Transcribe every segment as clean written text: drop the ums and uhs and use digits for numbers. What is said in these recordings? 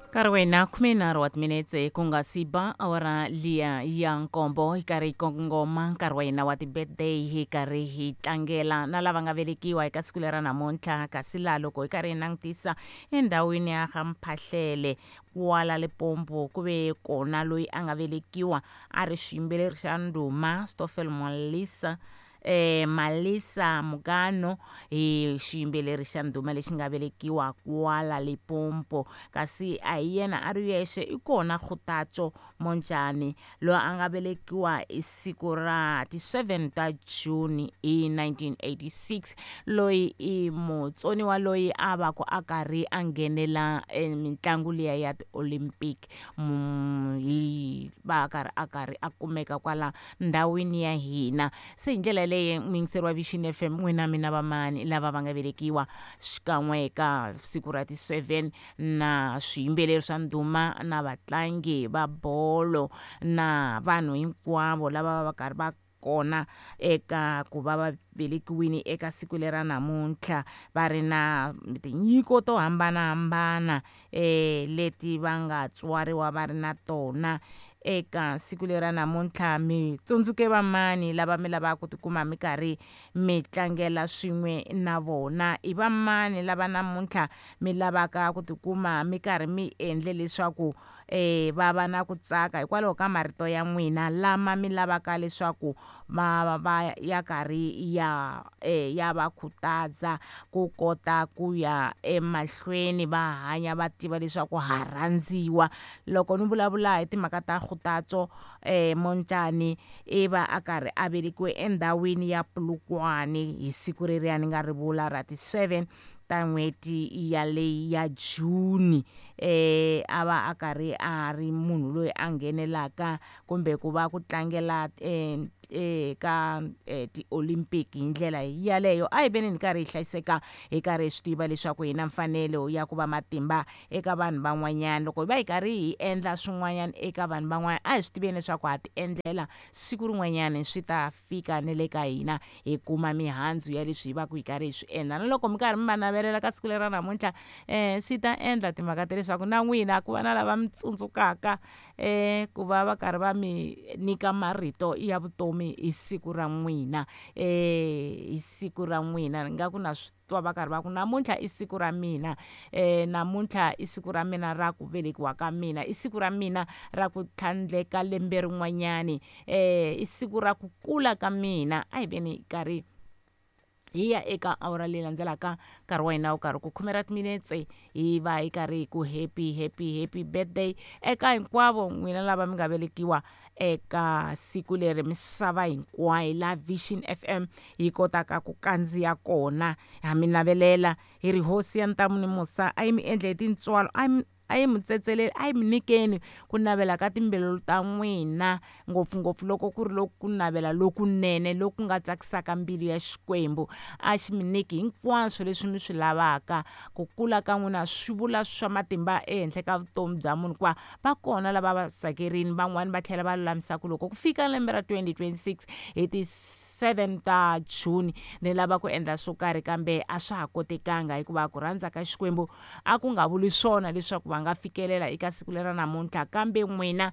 Nkarhi wa hina 13 wa timinetse ku nga si ba awara liya ya nkombo, hi karhi hi kongoma nkarhi wa hina wa ti-birthday, hi karhi hi tlangela na lava nga velekiwa eka siku lera namuntlha. Kasi laha loko hi karhi hi langutisa endhawini ya ga Mphahlele kwala Limpopo, ku ve kona loyi a nga velekiwa a ri xiyimbeleri xa ndhuma Stoffel Malisa, Malisa Mukano, hi xiyimbeleri xa ndhuma lexi nga velekiwa kwala Limpopo. Kasi a hi yena a ri yexe, i kona Kgothatso Montjane loyi a nga velekiwa hi siku ra ti 7 ta June hi 1986, loyi i mutsoniwa loyi a va ku a karhi a nghenela mitlangu liya ya ti-Olympic, hi va a karhi a kumeka kwala ndhawini ya hina. Se hi ndlela leyi muyingiseri wa Vision FM, n'wina mina vamani lava va nga velekiwa xikan'we eka siku ra ti 7, na swiyimbeleri swa ndhuma na vatlangi va bolo na vanhu hinkwavo lava va karhi va kona eka ku va va velekiwile eka siku lera namuntlha, va ri na tinyiko to hambanahambana leti va nga tswariwa va ri na tona eka siku lera namuntlha. Mi tsundzuke vamani lava mi lavaka ku tikuma mi karhi mi tlangela swin'we na vona? I vamani lava namuntlha mi lavaka ku tikuma mi karhi mi endle leswaku va va na ku tsaka hikwalaho ka marito ya n'wina lama mi lavaka leswaku va va ya karhi ya ya va khutaza ku kota ku ya emahlweni va hanya va tiva leswaku ha rhandziwa? Loko ni vulavula hi timhaka ta Kgothatso Montjane, i va a karhi a velekiwe endhawini ya Polokwane hi siku reriya ni nga ri vula ra ti 7 ta n'hweti yaleyi ya June. A va a karhi a ri munhu loyi a nghenelaka kumbe ku va ku tlangela eka ti-Olympic hi ndlela yaleyo. A hi veni hi karhi hi hlayiseka, hi karhi hi swi tiva leswaku hi na mfanelo ya ku va matimba eka vanhu van'wanyana. Loko hi va hi karhi hi endla swin'wanyana eka vanhu van'wana, a hi swi tiveni leswaku ha ti endlela, siku rin'wanyana swi ta fika ne le ka hina, hi kuma mihandzu ya leswi hi va ku hi karhi hi swi endla. Na loko mi karhi mi va navelela ka siku lera namuntlha, swi ta endla timhaka ta leswaku na n'wina ku va na lava mi tsundzukaka ku va va karhi va mi nyika marito ya vutomi hi siku ra n'wina, hi siku ra n'wina. Ni nga ku na swi twa va karhi va ku namuntlha i siku ra mina, namuntlha i siku ra mina ra ku velekiwa ka mina, i siku ra mina ra ku tlhandleka lembe rin'wanyani, i siku ra ku kula ka mina. A hi veni karhi hi ya eka awara leyi landzelaka, nkarhi wa hina wu karhi ku 10 ra timinetse, hi va hi karhi hi ku happy happy happy birthday eka hinkwavo n'wina lava mi nga velekiwa eka siku leri misava hinkwayo la Vision FM yi kotaka ku kandziya kona. Ha mi navelela hi ri hosi ya ntamu ni musa a yi mi endle hi tintswalo, a yi mi tsetseleli, a yi mi nyikeni ku navela ka timbilu ta n'wina, ngopfungopfu loko ku ri loku ku navela lokunene loku nga tsakisaka mbilu ya Xikwembu. A xi mi nyiki hinkwaswo leswi mi swi lavaka. Ku kula ka n'wina swi vula swa matimba ehenhla ka vutomi bya munhu, hikuva va kona lava va tsakerini, van'wani va tlhela va lulamisa ku loko ku fika lembe ra 2026 hi ti 7 ta June ni lava ku endla swo karhi, kambe a swa ha kotekanga hikuva ku rhandza ka Xikwembu a ku nga vuli swona leswaku va nga fikelela eka siku lera namuntlha. Kambe n'wina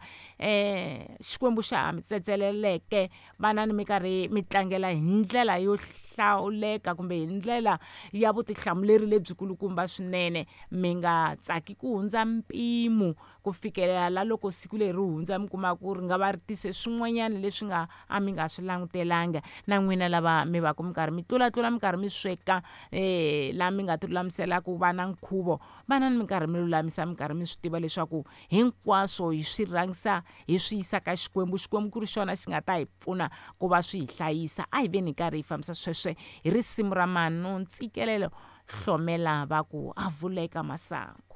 Xikwembu xa ha mi tsetseleleke, vana ni mi karhi mi tlangela hi ndlela yo hlawuleka kumbe hi ndlela ya vutihlamuleri lebyikulukumba swinene. Mi nga tsaki ku hundza mpimo ku fikelela la loko siku leri ri hundza mi kuma ku ri nga va ri tise swin'wanyana leswi nga a mi nga swi langutelanga. Na n'wina lava mi va ku mi karhi mi tlulatlula, mi karhi mi sweka la mi nga ti lulamisela ku va na nkhuvo, vana ni mi karhi mi lulamisa, mi karhi mi swi tiva leswaku hinkwaswo hi swi rhangisa hi swi yisa ka Xikwembu, Xikwembu ku ri xona xi nga ta hi pfuna ku va swi hi hlayisa. A hi veni hi karhi hi fambisa sweswe hi risimu ra Manu Ntsikelelo Hlomela va ku a vuleka masangu.